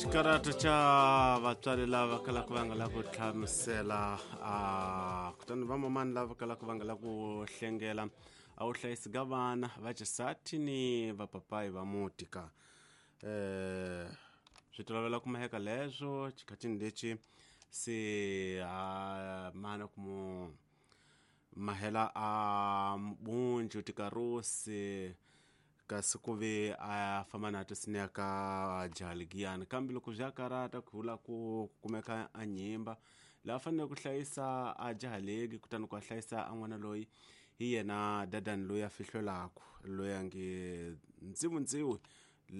Xikarata xa vatswari lava kalaka va nga la ku hlamusela a kutani vamamani lava kalaka va nga la ku hlengela a wu hlayisi ka vana va xisati ni vapapayi va muti ka swi tolovela ku maheka leswo xikhatini lexi se a mana ku mu mahela a mbunju tikarusi kasi ku ve a famba na to ka jahaligiyani kambe loko bya karata ku vula ku kumeka a nyimba laha fanele ku hlayisa a jahalegi kutani ku a hlayisa a n'wana loyi hi yena dadani loyi a fihlwelaku loyi a nge ndziwundziwi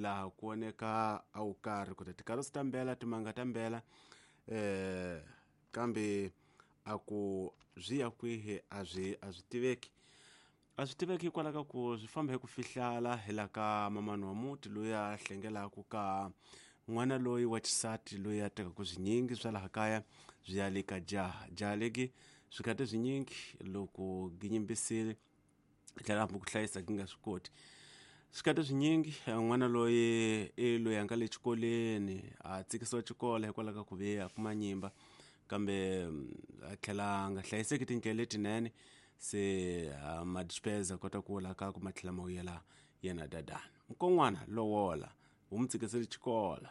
laha ku voneka a wu karhi ku ta tikarosi ta mbela timanga ta mbela kambe a ku byi ya kwihi a swi a swi tiveki a swi tiveki hikwalaho ka ku swi famba hi ku fihlala hi la ka mamani wa muti loyi a hlengelaku ka n'wana loyi wa xisati loyi a tekaku swinyingi swa laha kaya byi ya le ka jaha jaha leki swikhati swinyingi loko ginyimbisile tlhela hambi ku hlayisa gi nga swi koti swikhati swinyingi n'wana loyi i loyi a nga le xikolweni a tsikisiwa xikolo hikwalaho ka ku ve a kuma nyimba kambe a tlhela a nga hlayiseki tindlela letinene se madispeza kota ku la ka ku ma tlhela ma vuyela yena dadani mukon'wana lowola wu mu tsikisele xikola.